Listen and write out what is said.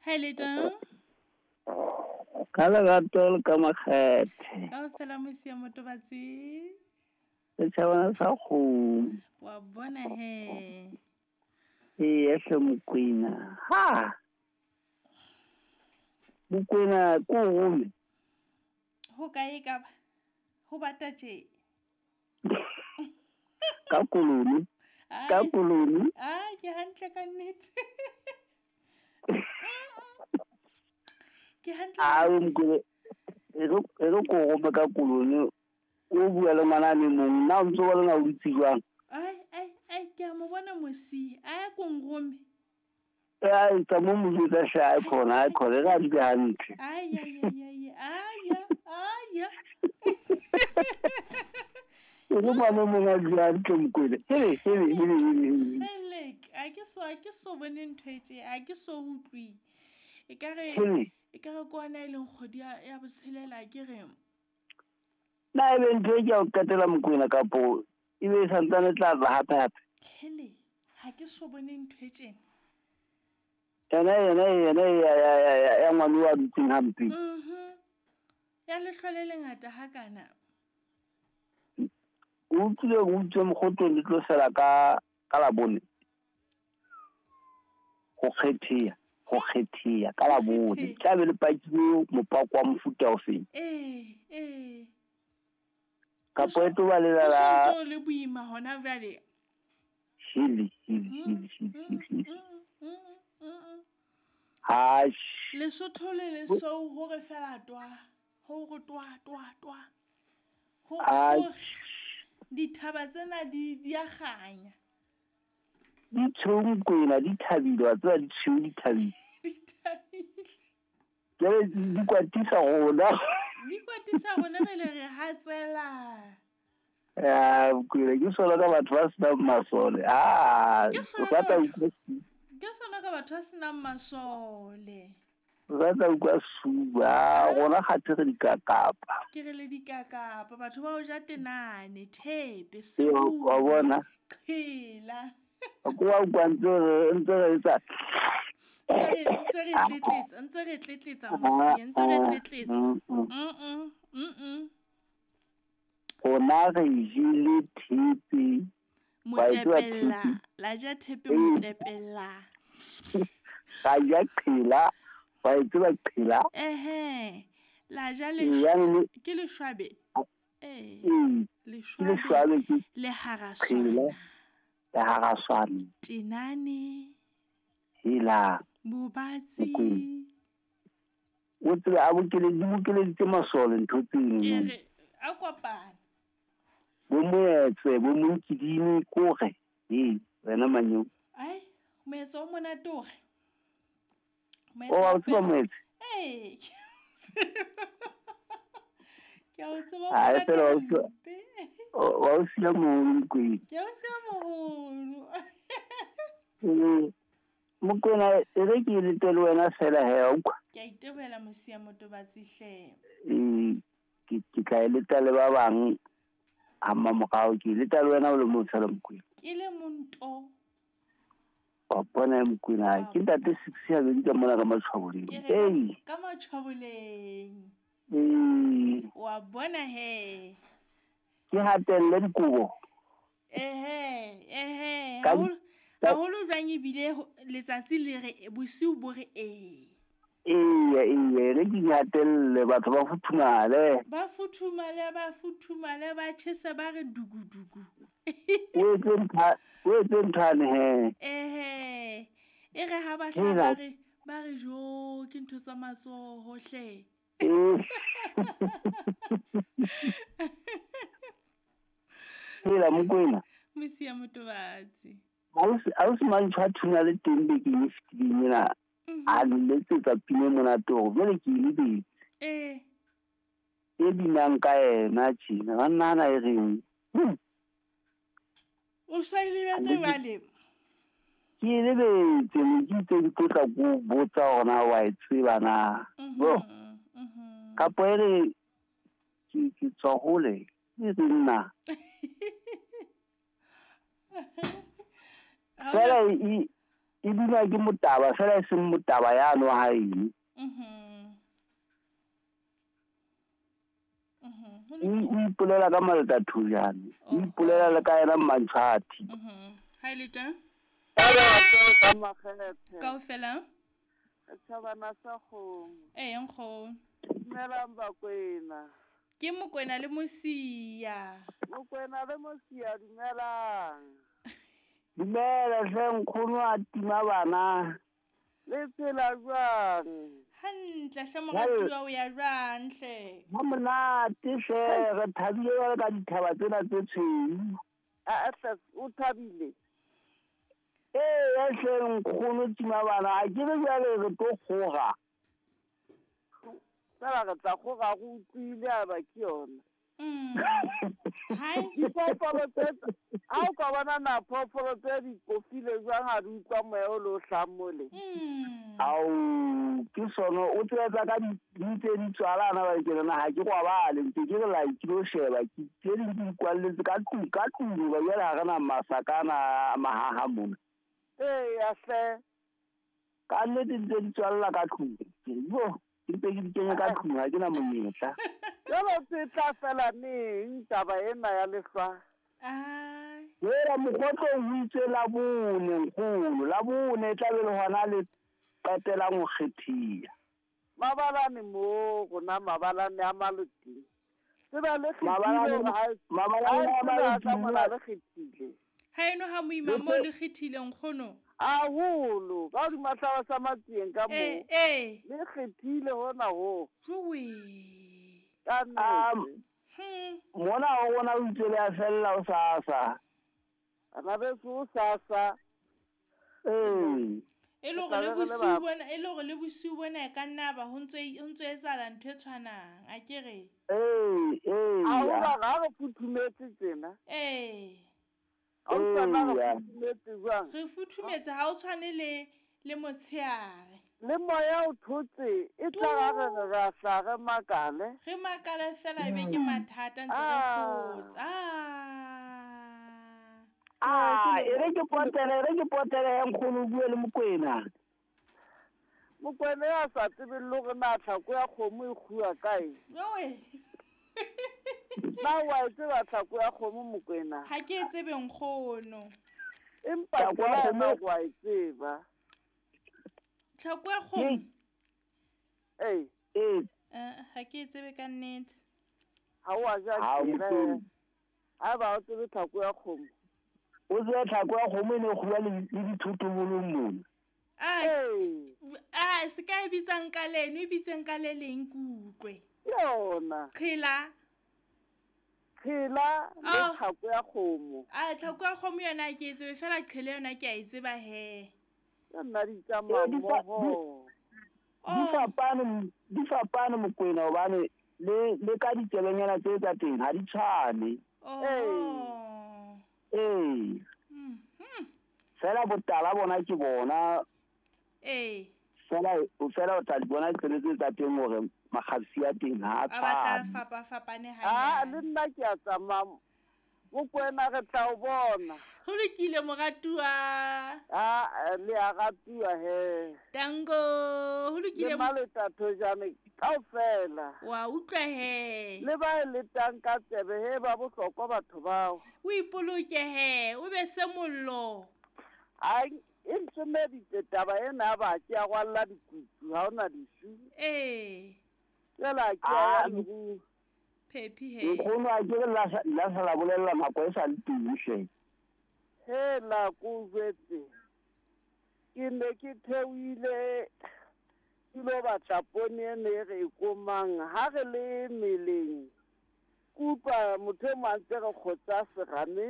Hello. Ka lerato le ka makgethe. Ka fela mosia motobatsi. Setšhabana sa kgomo. Wa bona he. Ee, hle Mokwena. Ha! Mokwena ko rome. Ho kae ka ba? Ho bata tje. Ka koloni. Ka koloni. Ah, ke hantle ka nnete. Ke hantle. A o Mokwena e re ko rome ka koloni. O bua le ngwana le mong. Na o ntse o bona o dutse jwang? Ai ai ai ke a mo bona mosi. A ko nrome. Ai tsa mo mo jwetsa hle a khona a khona re a dule hantle. Ai ai ai ai ai ai. E re ngwana o mong a dule hantle Mokwena. Hele hele hele hele. Selek, a ke so bone ntho e tje, a ke so utlwi. E ka re ko ona e leng kgwedi ya botshelela ke re. Na e be ntho e ke ya o qetela Mokwena kapo e be e santsane tla tla hape hape. Hele, ha ke so bone ntho e tjena. Yena ya ngwana wa dutseng hampe. Mhm. Ya lehlole le ngata hakana. O utlwile o utlwe mokgotong le tlo sela ka Labone. Ho kgethea ka Labone. Tla be le pakile mopako wa mofuta o feng? Ee. Kapo e tlo ba le la le boima hona jwale. Hele. Ha Lesotho le Lesou hore fela twa hore twa twa twa. Ho dithaba tsena di a kganya. Di tshweu Mokwena di thabile wa tseba di tshweu di thabile. Di thabile. Jwale di kwatisa rona. Di kwatisa rona bele re hatsela. Ya Mokwena ke sona ka batho ba senang masole. Ah, ke sona ka batho ba senang masole. Ba tla utlwa suba rona kgathe re dikakapa. Ke re le dikakapa batho ba o ja tenane thepe sebu. Wa bona. Qhela. Ko wa utlwa ntse re etsa. Ntse re tletletsa mosi, ntse re tletletsa. Rona re jele thepe. Motepella, la ja thepe motepella. Ka ja qhela. Wa e tseba qhela. Ehe. La ja ke leshwabe. Eh. Leshwabe ke le haraswana. Le haraswana. Tenane. Hela. Bobatsi. O tsebe a bokeleditse masole ntho tseno. Ke re a kopana. Bo moetse bo monkidini kore. Ee, wena manyo. Ai, moetse o monate ore. O wa tseba moetse? Ee. Ke a o tseba. Ai fela wa o siya moholo Mokwena. Ke a o siya moholo. Mokwena e re ke lete le wena fela he wa utlwa. Ke a itebohela mosia motobatsi hle. Ee, ke tla e leta le ba bang ha mmamorao ke leta le wena o le mong fela Mokwena. Ke le monto. Wa bona Mokwena ke ntate 6 ya bedi ka mona ka Matshwaboleng. Ee. Ka Matshwaboleng. Ee. Wa bona he. Ke hatelle dikobo. Ehe. Haholo jwang ebile letsatsi le re bosiu bo re ee. Ee, re ke hatelle batho ba futhumale. Ba futhumale ba tjhese ba re dugudugu. O etse nthane he. Ehe. E re ha ba hla ba re jo ke ntho tsa matsoho hle. Hela Mokwena. Mosia motobatsi. Ausi Mantšho a thunya le teng bekeng e fetileng ena. A letsetsa pina monate hore jwale ke e lebetse. Ee. E binang ka yena tjena. Ba nahana e reng. O sa e lebetse jwale? Ke e lebetse, ne ke itse ke tlo tla ko botsa hore na wa e tseba na. Bo. Kapo e re ke tswa hole, e re nna. Fela e E binwa ke Motaba fela e seng Motaba yano wa haeno. O ipolela ka Maleta Thojane, o ipolela le ka yena Mmantshwathi. Ha e le teng? Kaofela? Thabana sa kgomo. Ee, nkgono. Dumelang Bakwena. Ke Mokwena le Mosia. Mokwena le Mosia, dumelang. Dumela hle nkgono a tima bana. Le phela jwang? Hantle hle moratuwa, o ya jwang hle? Ha monate hle, re thabile jwale ka dithaba tsena tse tshweu. A hle, o thabile? Ee, hle nkgono tima bana, a ke re jwale re tlo kgora. Fela re tla kgora, re utlwile a ba ke yona. Hai. Diphoofolo tse, ha o ka bona na phoofolo tse di kofile jwang ha di utlwa moya o le o hlahang mole? Ao, ke sono, o tseba ka di ntse di tswalana ba ke nna ha ke kwabale, ntse ke re la ke lo sheba, ke tse ding di kwalletse ka tlung, ka tlung, ba jwale ha re na masakana mahaha mona. Ee, ya hle. Ka nnete ntse di tswalla ka tlung. Bo, ke ntse ke di kenya ka tlung, ha ke na monyetla. Jwale tse tla fela neng taba ena ya lehlwa? Ai. Wela mokgotlo o itse la bone nkgono, la bone e tla be le hona le qetelang ho kgethiya. Mabalane mo rona, mabalane a Maloteng. Tseba le kgethile Mabalane hore ha e- mabalane ha e a tseba ka Maloteng mona le kgethile. Ha eno ha moima mo le kgethile nkgono. Haholo, ka hodima hlaba sa Matsieng ka moo. Eh, eh. Le kgethile hona ho. Jowe. Ka nnete. Mona ho rona o itse le a fella o sasa. Bana beso o sasa. Ee. E le hore Tla le be re le bosiu ba- bona, e le hore le bosiu bona e ka nna ba ho ntse etsahala ntho e tshwanang, a ke re? Ee, ee. Ha o ba ha re futhumetse tjena. Ee. Ha o tswana re Eya. futhumetse jwang? Re futhumetse ha o tshwane le motsheare. Le moya o thotse, e tla ra re re ra hla re makale. Re makale fela ebe ke mathata ntse re kgotsa. Ah, e re ke potele, e re ke potele he nkgono o bue le Mokwena. Mokwena ya sa tsebeng le hore na tlhako ya kgomo e kguwa kae? Jowe. Na wa e tseba tlhako ya kgomo, Mokwena? Ha ke e tsebe nkgono. Empa Tlhako ya tsela yona kgomo- wa e tseba. Tlhako ya kgomo? Ee. Ee. Ha ke e tsebe ka nnete. Ha o a ja Ha o tjena, tsebe. eh. Ha eba o tsebe tlhako ya kgomo. O tsebe tlhako ya kgomo e ne e kguwa le dithotobolong mona. Ee. Ah, se ka e bitsang ka leno, e bitseng ka le leng ke utlwe. Yona. Qhela. Qhela le Oh. tlhako ya kgomo. Ah, tlhako ya kgomo yona ha ke e tsebe, fela qhela yona ke a e tseba he. Ke nna di tsamaya Eh, di fa- mmoho. Di fapane, di fapane Mokwena hobane le ka ditselenyana tse tsa teng ha di tshwane. Oh. Ee. Fela botala bona ke bona. Ee. Fela o tla di bona ditsele tse tsa teng hore makgabsi a teng ha a A batla tshwane. fapafapane Ah, hanyane. le nna ke a tsamaya. Mokwena re tla o bona. Ho lokile moratuwa. Ah, le a ratuwa he. Tango, ho lokile Le Maleta Thojane kaofela. Wa utlwa he. Le ba e letang ka tsebe he ba bohlokwa batho bao. O ipoloke he, o be se mollo. Ai, e ntsomeditse taba ena ya ba ke ya rwalla dikutu, ha hona disu. Ee. Fela ke ya Ah, leruo. Phephi he. Nkgono a ke re la sa la bolella nako e sa le teng hle. He la ko jwetse. Ke ne ke theohile ke lo batla poone e ne re e komang. Ha re le meleng, ke utlwa motho e mong a ntse re kgotsa serame.